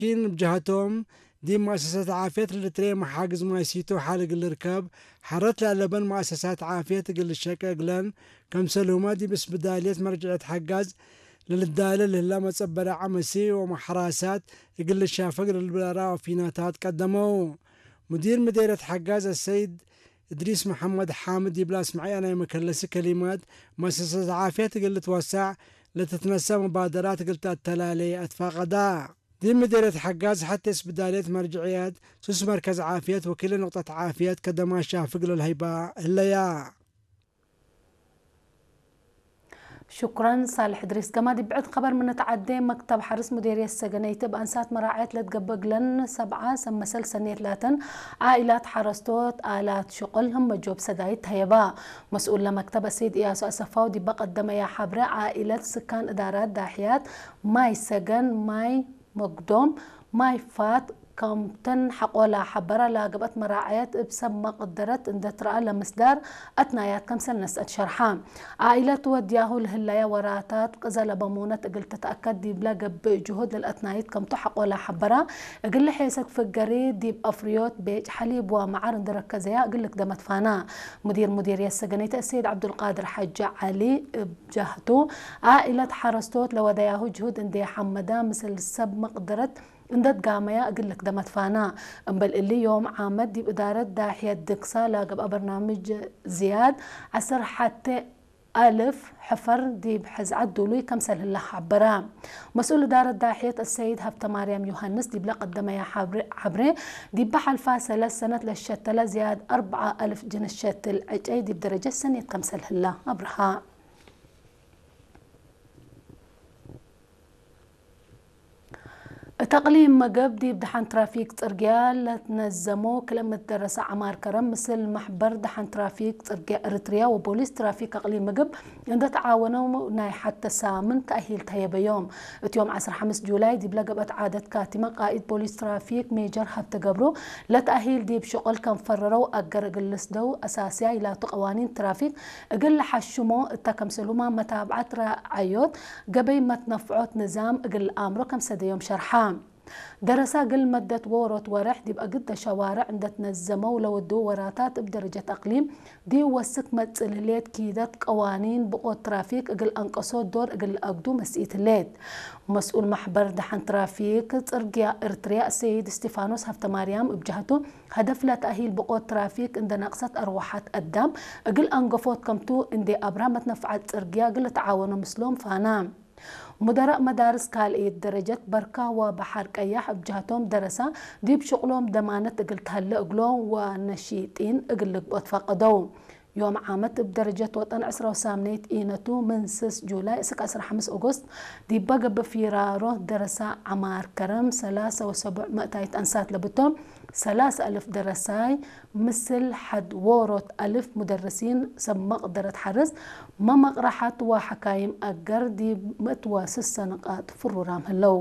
ኪን ብጃህቶም ዲብ መእሰሳት ዓፍየት ልትሬ መሓግዝ ማይ ሲቶ ሓልግ ልርከብ ሓረት ላለበን መእሰሳት ዓፍየት እግል ልሸቀ እግለን ከምሰልሁመ ዲብ ስብዳልየት መርጅዐት ሓጋዝ ለልዳለ ልህላ መጸበረ ዓመሲ ወመሕራሳት እግል ልሻፈግ ለልብራራ ወፊናታት ቀደመው። ሙዲር ምዴርየት ሓጋዝ አሰይድ እድሪስ መሐመድ ሓምድ ይብላ ስምዐያ ናይ መከለሲ ከሊማት መእሰሳት ዓፍየት እግል ልትወሳዕ ለትትነሳ መባደራት እግል ተአተላሌ አትፋቀዳ። ዲብ ምዴርየት ሓጋዝ ሐቴ ስብዳልየት መርጅዕየት ሱስ መርከዝ ዓፍየት ወኪለ ንቅጠት ዓፍየት ከደማ ሻፍግ ለልሀይባ ህለያ። ሽኩረን ሳልሕ እድሪስ። ገማዲ ብዕድ ኸበር ምንትዓዴ መክተብ ሓርስ ሙዴርየት ሰገነይቲ እብ አንሳት መራዕየት ለትገብእ እግለን ሰብዓ ሰብ መሰል ሰኔት ላተን ዓኢላት ሓረስቶት አላት ሽቁል ህመ ጆብ ሰዳይት ተየባ። መስኡል ለመክተብ አሰይድ እያሱ አሰፋው ዲበ ቀደመያ ሐብረ ዓኢለት ስካን እዳራት ዳሕያት ማይ ሰገን ማይ መግዶም ማይ ፋት ከምተን ሐቆላ ሐበራ ላገብአት መራዕየት እብ ሰብ መቅደረት እንደ ትረአ ለምስዳር አትናያት ከምሰል ነስአት ሸርሓ። ዓኢለት ወድያሁ ለህለያ ወራታት ቅዘ ለበሙነት እግል ትትአከድ ዲብለ ገብእ ጅሁድ ለልአትናይት ከምቱ ሐቆላ ሐበራ እግል ሐሰክ ፍገሪ ዲብ አፍርዮት ቤጭ ሐሊብ ወመዓር እንደረከዘያ እግል ልክደመት ፋና። ሙዲር ሙዲርየት ሰገነይተ እሰይድ ዐብዱልቃድር ሐጂ ዐሊ እብ ጃህቱ፣ ዓኢለት ሐረስቶት ለወደያሁ ጅሁድ እንዴ ሐመዳ ምስል ሰብ መቅደረት እንደ ትጋመያ እግል ልክደመት ፋና። እምበል እሊ ዮም ዓመት ዲብ እዳረት ዳሕየት ድግሳ ላገብአ በርናምጅ ዝያድ ዐስር ሐቴ አልፍ ሕፈር ዲብ ሕዝዓት ዱሉይ ከምሰል ህላ ሐበራ። መስኡል እዳረት ዳሕየት አሰይድ ሀብተማርያም ዮሃንስ ዲብለ ቀደመያ ሐብሬ፣ ዲበ ሐልፋ ሰለስ ሰነት ለሸተለ ዝያድ አርብዓ አልፍ ጅንስ ሸትል ዕጨይ ዲብ ደረጀት ሰኔት ከምሰል ህላ አብርሃ። እት አቅሊም መገብ ዲብ ደሓን ትራፊክ ጽርግያ ለትነዘሞ ክልእምት ደረሰ ዐማር ከረም ምስል ማሕበር ደሓን ትራፊክ ጽርግያ ኤርትርያ ወቦሊስ ትራፊክ አቅሊም መገብ እንደ ተዓወነው ናይ ሐተ ሳምን ተእሂል ተየበዮም። እት ዮም ዐስራ ሐምስ ጁላይ ዲብለ ገብአት ዓደት ካቲመ ቃኢድ ቦሊስ ትራፊክ ሜጀር ሀብተ ገብሩ ለተእሂል ዲብ ሽቁል ከም ፈረረው አገር እግል ልስደው አሳስያ ኢላቱ ቀዋኒን ትራፊክ እግል ለሐሽሞ እተ ከምሰልሁማ መታብዓት ረዓዮት ገበይ መትነፍዖት ንዛም እግል ለአምሮ ከም ሰደዮም ሸርሓ። ደረሳ እግል መደት ዎሮት ወርሕ ዲብ አግደ ሸዋርዕ እንደ ትነዘመው ለወድው ወራታት እብ ደረጀት አቅሊም ዲብ ወስክ መጽእ ልሌት ኪደት ቀዋኒን ብቆት ትራፊክ እግል አንቀሶ ዶር እግል ለአግዱ መስኢት ህሌት። መስኡል ማሕበር ደሓን ትራፊክ ጽርግያ ኤርትርያ ሰይድ እስቲፋኖስ ሀብተማርያም እብ ጀህቱ፣ ሀደፍ ለተእሂል ብቆት ትራፊክ እንደ ነቅሰት አርወሐት አዳም እግል አንገፎት ከምቱ እንዴ አብራ መትነፍዓት ጽርግያ እግል ልትዓወኖ ምስሎም ፋና። ሙደራእ መዳርስ ካልእየት ደረጀት በርካ ወበሐር ቀያሕ እብ ጀህቶም ደረሳ ዲብ ሽቁሎም ደማነት እግል ተሀለ እግሎም ወነሺጢን እግል ልግብኦ ትፈቀደው። ዮም ዓመት እብ ደረጀት ወጠን ዕስራ ወሳምነይት ኢነቱ ምን ስስ ጁላይ እስክ ዐስራ ሐምስ ኦጎስት ዲበ ገብእ ፊራሮ ደረሳ ዐማር ከረም ሰላሰ ወሰቡዕ መእታይት አንሳት ለብቶም ሰላሰ አልፍ ደረሳይ ምስል ሐድ ዎሮት አልፍ ሙደርሲን ሰብ መቅደረት ሐርስ መመቅረሐት ወሐካይም አገር ዲብ ምእት ወስሰ ንቃጥ ፍሩራም ህለው።